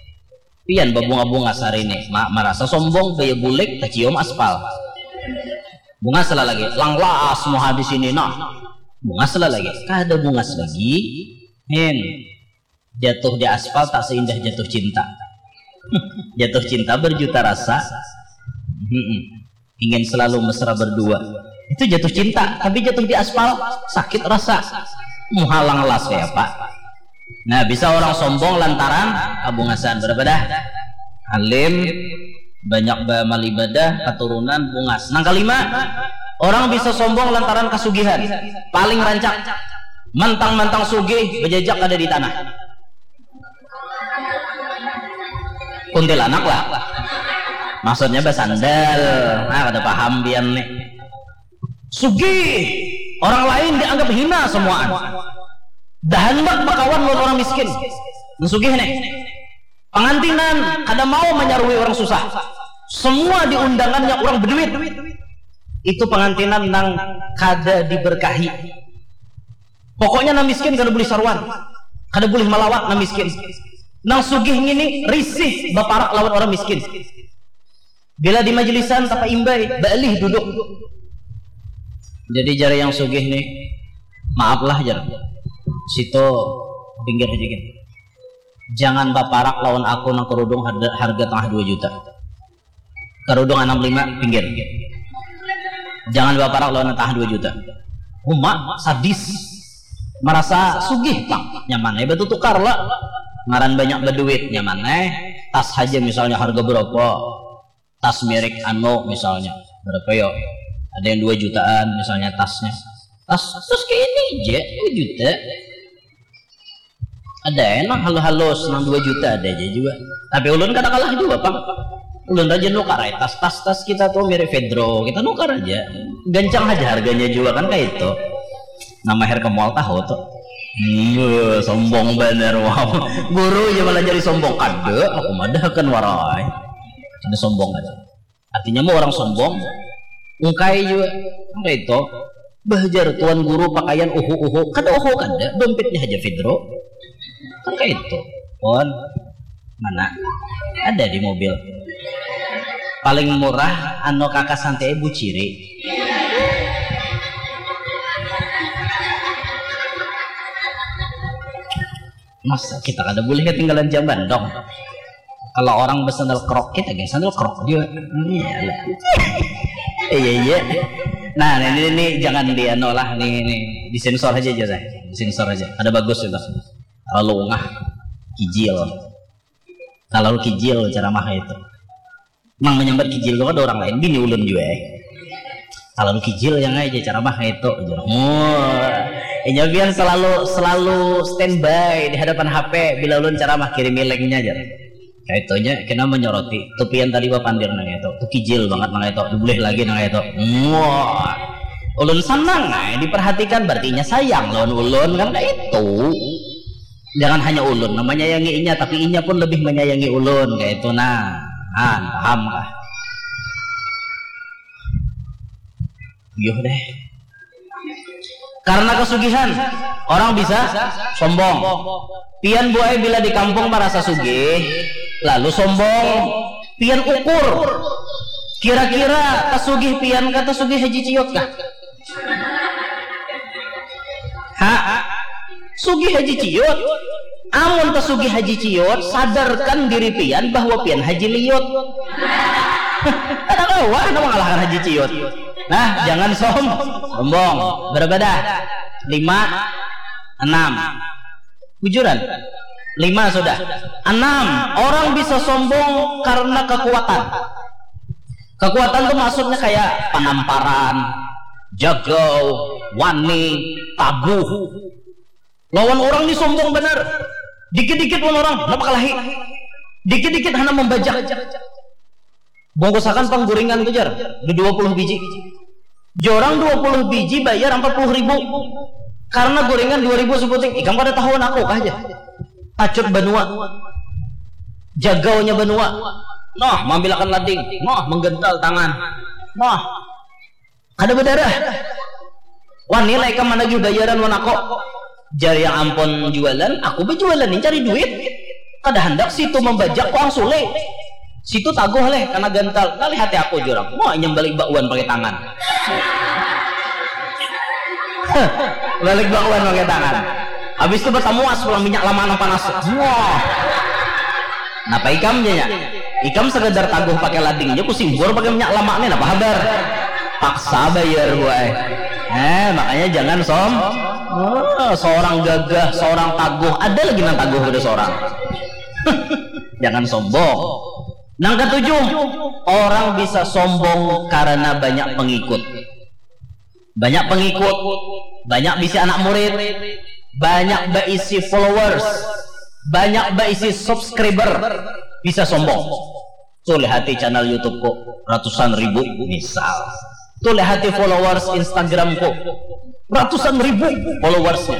Pian babunga-bungas hari ini, ma-, marasa sombong, gaya bulik, tacium aspal. Bungas lah lagi, langlas muha di sini nah. Bungas lah lagi, kada bungas lagi. Hin, jatuh di aspal tak seindah jatuh cinta. Jatuh cinta berjuta rasa. Mm-mm. Ingin selalu mesra berdua. Itu jatuh cinta, tapi jatuh di aspal, sakit rasa. Muha langlas kaya apa? Nah, bisa orang sombong lantaran kabungasan. Berapa dah? Alim, banyak baamal ibadah, katurunan, bungas. Nang kalima, orang bisa sombong lantaran kasugihan. Paling rancak. Mantang-mantang sugih, bejajak kada di tanah. Kuntilanak lah. Maksudnya basandal. Nah, kada paham pian nih. Sugih, orang lain dianggap hina semuaan. Dah handak bakawan lawan orang miskin. Nang sugih nih. Pangantinan kada mau manyarui orang susah. Semua diundangannya orang beduit. Itu pangantinan nang kada diberkahi. Pokoknya nang miskin kada boleh saruan. Kada boleh malawat nang miskin. Nang sugih ngini risih baparak lawan orang miskin. Bila di majelisan tapaimbai, baalih duduk. Jadi jar yang sugih nih, maaf lah jar. Situ pinggir aja gin. Jangan baparak lawan aku nang kerudung harga, harga tengah dua juta. Kerudung anam lima pinggir. Jangan baparak lawan nang tengah dua juta. Uma sadis. Marasa sugih pang. Nyaman ai batutukar lah. Ngaran banyak baduit, nyaman ai. Tas haja misalnya harga berapa? Tas merek anu misalnya. Berapa yo? Ada yang dua jutaan misalnya tasnya. Tas, tas kayak ini aja, dua juta. Ada ai nang halus-halus, nang dua juta ada aja juga. Tapi ulun kada kalah juga pang. Ulun rajin nukar ai tas, tas, tas kita tuh merek Pedro, kita nukar aja. Gancang aja harganya juga kan kayak itu. Nama hair ke mall tahu tuh. Iya, sombong bener, wow. Guru aja malah jadi sombong. Kada, aku madahkan warai. Kada sombong aja. Artinya mau orang sombong, ungkai jua. Kan kayak itu. Bah jar tuan guru pakaian uhu-uhu. Kada uhu kada, dompetnya aja Fidro. Kan kayak itu. Pon, mana? Ada di mobil. Paling murah anu kakak santai buciri. Masa kita kada boleh ketinggalan zaman dong. Kalau orang bersandal krok kita gak sandal krok juga. Iya lah. Iya iya. Nah ini, ini, ini jangan di anu lah, nih, nih disensor aja aja deh. Disensor aja. Ada bagus itu. Kalau ungah kijil. Kalau kijil ceramah itu. Mang menyambat kijil tu ada orang lain, bini ulun jua eh. Kalau kijil yang aja cara mah itu. Oh, inya biar selalu selalu standby di hadapan H P bila ulun ceramah, kirim linknya aja. Kayak itunya kena menyoroti tupian tadi bapandir nang itu, tuh kijil banget nang itu, boleh lagi nang itu. Wah, ulun senang nah diperhatikan, berarti inya sayang lawan ulun kan kayak itu. Jangan hanya ulun menyayangi inya, tapi inya pun lebih menyayangi ulun kayak itu. Nah, han paham kah? Yuh deh. Karena kesugihan orang bisa sombong. Pian buai bila di kampung merasa sugih, lalu sombong. Pian ukur, kira-kira tasugih pian kah tasugih Haji Ciut kah? Ha? Sugih Haji Ciut. Amun tasugih Haji Ciut, sadarkan diri pian bahwa pian Haji Liut. Kada kawa anu mengalahkan Haji Ciut. Nah, jangan som sombong. Berapa dah? Lima, enam. Bujuran. Lima sudah. Enam, orang bisa sombong karena kekuatan. Kekuatan tuh maksudnya kayak penamparan, jagau, wani, tabuh. Lawan orang ni sombong benar. Dikit-dikit lawan orang, napa kalahi? Dikit-dikit hana membajak. Bungkusakan pangguringan tu jar, dua puluh biji. Jorang dua puluh biji bayar empat puluh ribu. Karena gorengan dua ribu sebuting, ikam kada tahuan aku kah aja. Tacut banua. Jagaunya banua. Noh, mambilakan lading. Noh, menggental tangan. Noh, kada berdarah. Wani lah ikam managih bayaran wan aku. Jar yang ampun jualan, aku berjualan ini cari duit. Kada hendak situ membajak kuang sule. Situ taguh leh, karena gantal. Kali hati aku jurang. Mau nyembalik bakwan pakai tangan. Balik bakwan pakai tangan. Habis itu bertamuas pulang minyak lama nang panas. Wah. Napa ikam nya? Ikam sekedar taguh pakai lading nya, kusimbur pakai minyak lama nih, napa habar? Paksa bayar buai. Eh, makanya jangan som. Oh, seorang gagah, seorang taguh, ada lagi nang taguh pada seorang. Jangan sombong. Nang ketujuh, orang bisa sombong karena banyak pengikut. Banyak pengikut, banyak bisi anak murid, banyak baisi followers, banyak baisi subscriber, bisa sombong. Tuh lihati channel YouTube-ku, ratusan ribu misal. Tuh lihati followers Instagram-ku, ratusan ribu followersnya.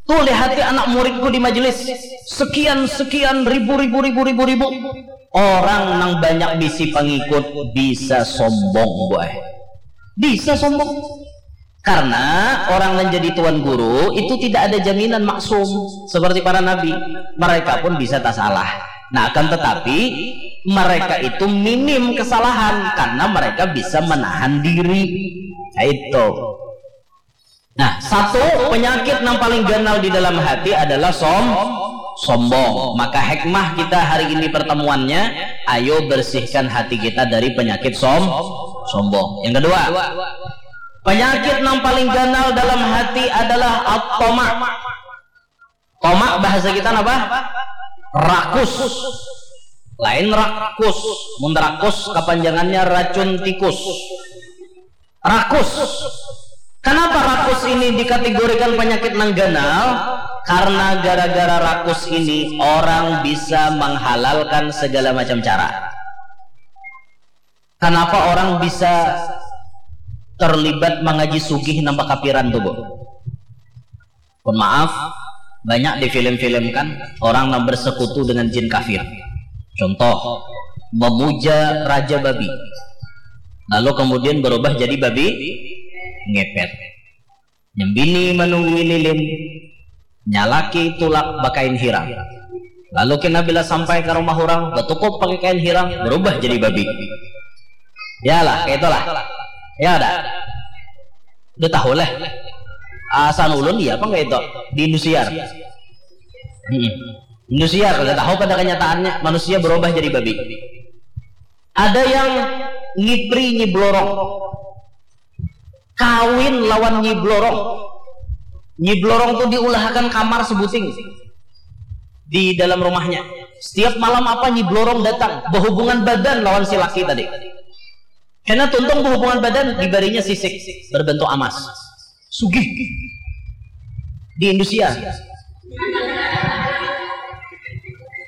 Tuh lihati anak muridku di majelis, sekian sekian ribu ribu ribu ribu ribu. Orang nang banyak bisi pengikut bisa sombong, boy. Bisa sombong. Karena orang yang jadi tuan guru itu tidak ada jaminan maksum seperti para nabi. Mereka pun bisa tak salah. Nah, akan tetapi mereka itu minim kesalahan karena mereka bisa menahan diri. Nah, itu. Nah, satu penyakit yang paling ganal di dalam hati adalah som sombong. Maka hikmah kita hari ini pertemuannya, ayo bersihkan hati kita dari penyakit som sombong. Yang kedua, penyakit yang paling ganal dalam hati adalah at-tama. Tomak bahasa kita apa? Rakus. Lain rakus. Mun rakus kepanjangannya racun tikus. Rakus. Kenapa rakus ini dikategorikan penyakit nang ganal? Karena gara-gara rakus ini orang bisa menghalalkan segala macam cara. Kenapa orang bisa terlibat mengaji sugih nambah kapiran tuh, Bu? Mohon maaf, banyak difilm-filmkan orang yang bersekutu dengan jin kafir. Contoh, memuja raja babi. Lalu kemudian berubah jadi babi ngepet. Nyembini menunggui lilin, nyalaki tulak bakain hirang. Lalu kena bila sampai ke rumah orang, betukup pakai kain hirang, berubah jadi babi. Ya lah, kayak itulah. Ya ada. Udah tahu lah. Asan ulun dia apa enggak itu? Di Indosiar. Hmm. Indosiar, udah tahu pada kenyataannya manusia berubah jadi babi. Ada yang ngipri nyiblorong. Kawin lawan nyiblorong. Nyiblorong tuh diulahakan kamar sebuting di dalam rumahnya. Setiap malam apa nyiblorong datang, berhubungan badan lawan si laki tadi. Karena tuntung berhubungan badan, dibarinya sisik berbentuk amas. Sugih. Di Indosiar.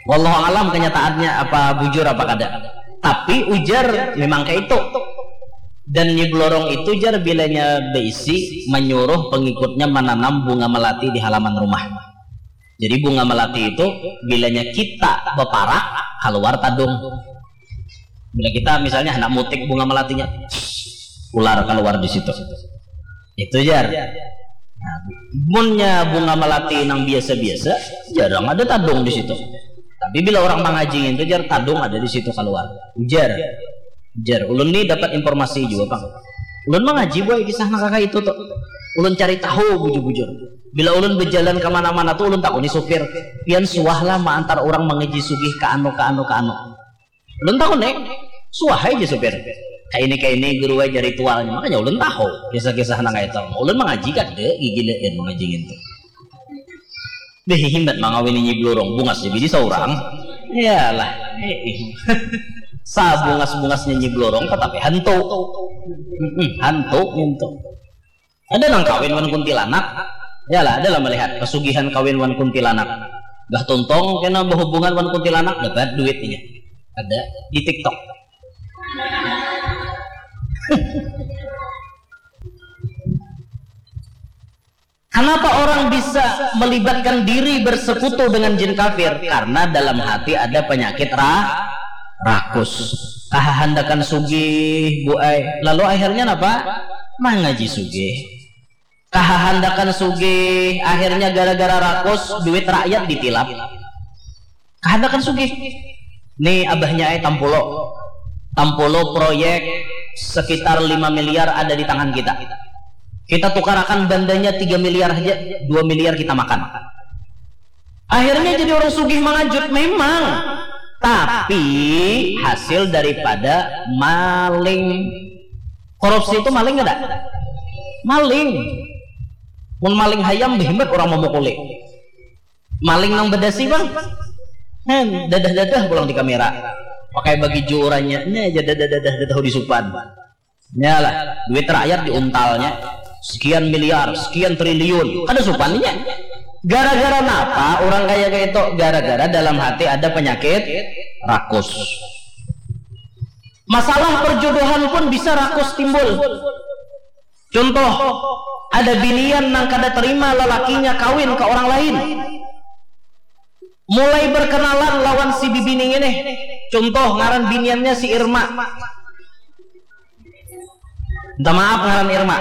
Wallahu alam kenyataannya apa bujur apa kada. Tapi ujar memang kayak itu. Dan nyiblorong itu jar bilanya beisi menyuruh pengikutnya menanam bunga melati di halaman rumah. Jadi bunga melati itu bilanya kita beparak keluar tadung. Bila kita misalnya hendak mutik bunga melatinya, ular keluar di situ. Itu jar. Nah, munnya bunga melati nang biasa-biasa, jarang ada tadung di situ. Tapi bila orang mengaji itu jar, tadung ada di situ keluar. Ujar. Ujar. Ulun nih dapat informasi juga, Bang. Ulun mengaji buat kisah nak kakak itu tuh. Ulun cari tahu bujur-bujur. Bila ulun berjalan kemana-mana tuh ulun takuni supir. Pian suah lah mengantar orang mengaji sugih ke anu, ke anu, ke anu. Ulun tahu nih, suah aja supir. Kayak ini, kayak ini guru aja ritualnya. Makanya ulun tahu kisah-kisah nang itu. Ulun mengaji kada gigi lein mengaji gitu. Deh, himbat mangawini nyiblorong bungas jadi seorang. Iyalah. Sabungas-bungasnya nyiblorong tetapi hantu. Mm-mm, hantu gitu. Ada nang kawin wan kuntilanak. Yalah, ada lah melihat pesugihan kawin wan kuntilanak. Bah tuntung kena berhubungan wan kuntilanak dapat duitnya. Ada di TikTok. Kenapa orang bisa melibatkan diri bersekutu dengan jin kafir? Karena dalam hati ada penyakit ra rakus. Kahahandakan sugih, Bu ai. Lalu akhirnya napa? Mangaji sugih. Kahahandakan sugih, akhirnya gara-gara rakus, duit rakyat ditilap. Kahandakan sugih. Nih abahnya ai tampulo. Tampulo proyek sekitar lima miliar ada di tangan kita. Kita tukarakan bandanya tiga miliar aja, dua miliar kita makan. Akhirnya jadi orang sugih mangajut memang. Tapi hasil daripada maling. Korupsi itu maling kada? Maling. Mun maling hayam, behimat orang memukuli. Maling nang bedasi, Bang. Hen, dadah-dadah pulang di kamera. Pakai bagi juurannya. Nya aja dadah-dadah, dadah di supan. Nyalah, duit rakyat diuntalnya. Sekian miliar, sekian triliun. Kada supan inya. Gara-gara napa orang kaya kayak itu? Gara-gara dalam hati ada penyakit rakus. Masalah perjodohan pun bisa rakus timbul. Contoh, ada binian nang kada terima lelakinya kawin ke orang lain. Mulai berkenalan lawan si bibini ini. Contoh, ngaran biniannya si Irma. Minta maaf, ngaran Irma.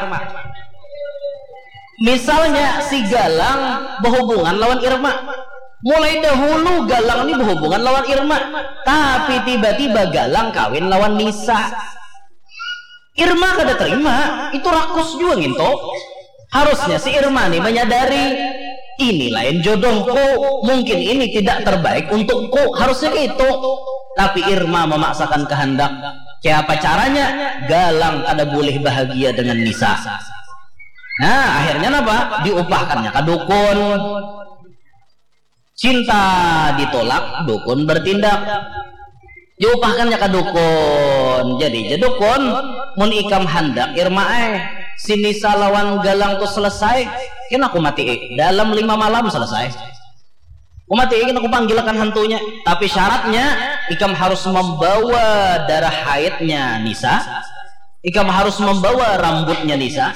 Misalnya si Galang berhubungan lawan Irma. Mulai dahulu Galang ini berhubungan lawan Irma. Tapi tiba-tiba Galang kawin lawan Nisa. Irma kada terima, itu rakus juga nginto. Harusnya si Irma ni menyadari, ini lain jodohku, mungkin ini tidak terbaik untukku, harusnya gitu. Tapi Irma memaksakan kehendak. Kayak apa caranya? Galang kada boleh bahagia dengan Nisa. Nah, akhirnya napa? Diupahkannya ke dukun. Cinta ditolak, dukun bertindak. Diupahkannya ke dukun. Jadi, ja dukun, mun ikam handak, Irma ai, si Nisa lawan Galang tu selesai, kena aku mati dalam lima malam selesai. Aku mati, kena aku panggilakan hantunya. Tapi syaratnya, ikam harus membawa darah haidnya Nisa. Ikam harus membawa rambutnya Nisa.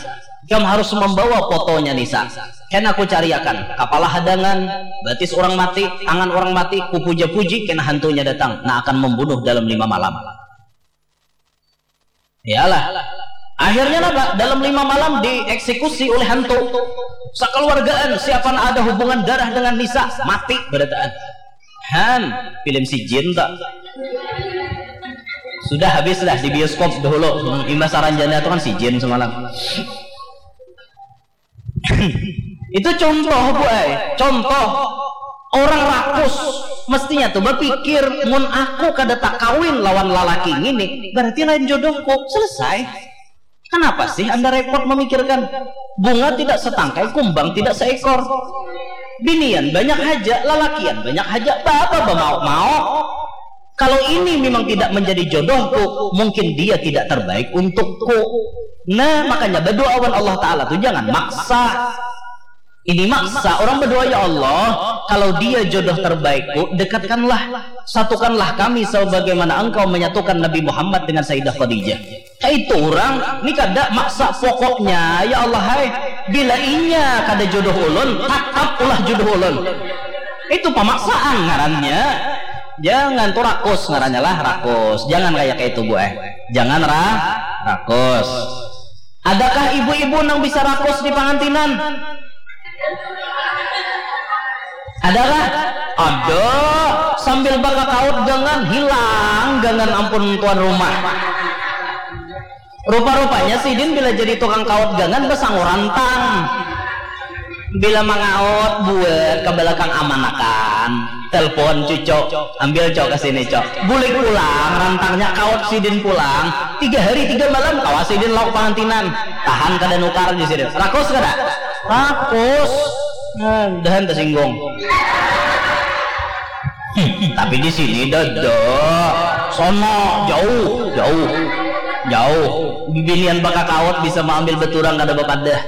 Ikam harus membawa fotonya Nisa. Kena aku cariakan kapala hadangan, batis orang mati, tangan orang mati, kupuja-puji, kena hantunya datang. Nah, akan membunuh dalam lima malam. Iyalah. Akhirnya napa? Dalam lima malam dieksekusi oleh hantu. Sekeluargaan, siapa nak ada hubungan darah dengan Nisa, mati berataan. Han, film si Jin tak? Sudah habis lah di bioskop dahulu. Hmm, imbah saranjana tu kan si Jin semalam. Itu contoh, Bu ai. Contoh. Orang rakus mestinya tu bapikir, mun aku kada takawin lawan lalaki ngini, berarti lain jodohku. Selesai. Kenapa sih Anda repot memikirkan? Bunga tidak setangkai, kumbang tidak seekor. Binian banyak haja, lalakian banyak haja, bapa bamauk-mauk. Kalau ini memang tidak menjadi jodohku, mungkin dia tidak terbaik untukku. Nah, makanya berdoa wan Allah Ta'ala tu jangan maksa. Ini maksa orang berdoa, "Ya Allah, kalau dia jodoh terbaikku, dekatkanlah, satukanlah kami sebagaimana engkau menyatukan Nabi Muhammad dengan Sayyidah Khadijah." Kaitu urang, ni kada maksa, pokoknya, ya Allah hai, bila inya kada jodoh ulun, tatap ulah jodoh ulun. Itu pamaksaan ngarannya. Jangan tu rakus ngarannya lah, rakus. Jangan kaya kaitu, Bu eh. Jangan ra rakus. Adakah ibu-ibu nang bisa rakus di pangantinan? Adakah? Ada. Sambil bakakaut gangan, hilang gangan ampun tuan rumah. Rupa-rupanya sidin bila jadi tukang kaut gangan basangu rantang. Bila mangaut buat ka balakang amanakan, telpon cuco, ambil cok ka sini cok. Bulik pulang rantangnya, kaut sidin pulang. Tiga hari tiga malam kawa sidin lauk pangantinan. Tahan kada nukar di sidin. Rakus kada? Rakus. Nah, dahan tersinggung. Hmm, tapi di sini dada. Sono jauh, jauh. Jauh. Bibinian bakakaut bisa maambil beturang kada bapadah.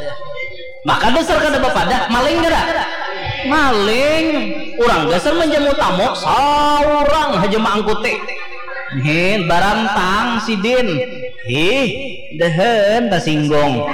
Maka dasar kada bapadah, maling kada? Maling. Urang dasar manjamu tamu, saurang haja maangkuti. Hin, barantang sidin. Hih, dehen tasinggung.